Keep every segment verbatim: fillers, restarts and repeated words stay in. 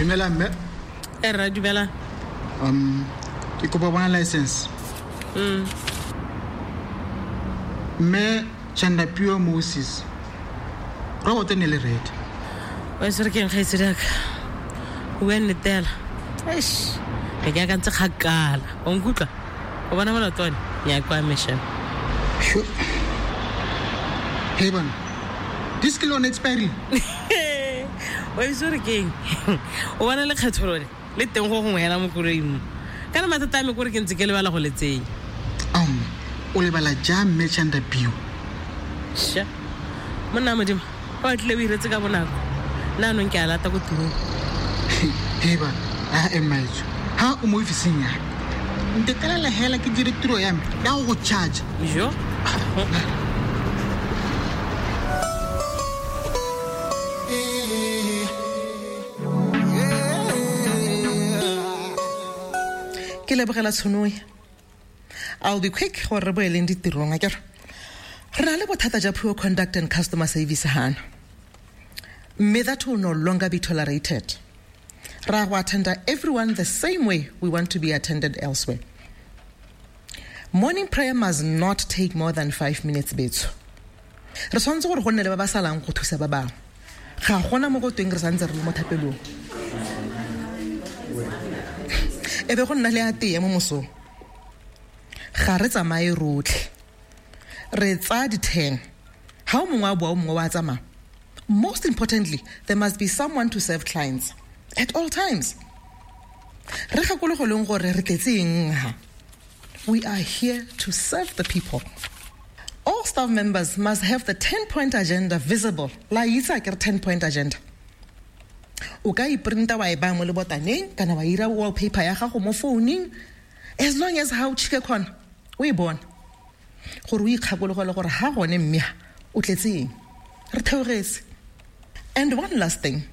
Dumela mme. E rra, dumela. Um ke kopa bona license. Mm. Mme Chandapio Moses. Robot ne le red. Wa se re keng gaetse daka. O bua nnete fela. Eish. Ke ke akantse kgakala. O nkutlwa? O bona molato one? Nya kwa mission. Sure. Hey bana. This kilo on expiry. Wa itse gore ke eng? O bona lekgetho lone le teng go gongwe hela mo koloing mo. Kana mathata a me kore ke ntse ke lebala go le tsenya. Um, o lebala jang mme Chandapio? Sha. Monna Modimo, o tlile o iretse ka bonako. Nna anong ke a lata ko tirong. Hey bana, a emaitso. Ha o mo ofising ya. Ntetelela hela ke dire tiro ya me ya go go charge. Jo. Ke lebogela tshono e. I'll be quick gore re boeleng ditirong akere. Re na le bothata ja poor conduct and customer service hana. Mme that will no longer be tolerated. Ra go attenda everyone the same way we want to be attended elsewhere. Morning prayer must not take more than five minutes betso. Re tshwanetse gore go nne le ba ba salang go thusa ba bangwe. Ga gona mo go tweng re santse re le mo thapelong. E be go nna le a tee mo mosong. Ga re tsamaye rotlhe. Re tsaya di-ten. Ha o mongwe a boa, o mongwe wa tsamaya. Most importantly, there must be someone to serve clients at all times. Re gakologelweng gore re tletse eng ha. We are here to serve the people. All staff members must have the ten-point agenda visible. La itse akere ten-point agenda. O ka iprinta wa e baya mo lebotaneng kana wa ira wallpaper ya gago mo founung, as long as ha o tšhike khona o e bona gore o ikgakologele gore ha gone mme ha o tletse eng. Re theogetse. And one last thing,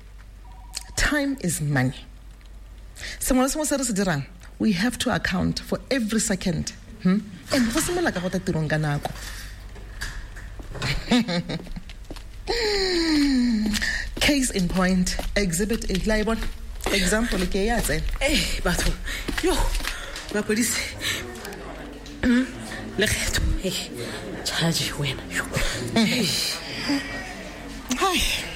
time is money. Sengwe le sengwe se re se dirang, we have to account for every second. Hmm? And go simolola ka go tla tirong ka nako. Case in point, exhibit A. La e bona? Example ke ya tsena. Eh, batho. Yo, mapodisi. Mm, lekgetho. Eh, charge wena. Yo. Hi.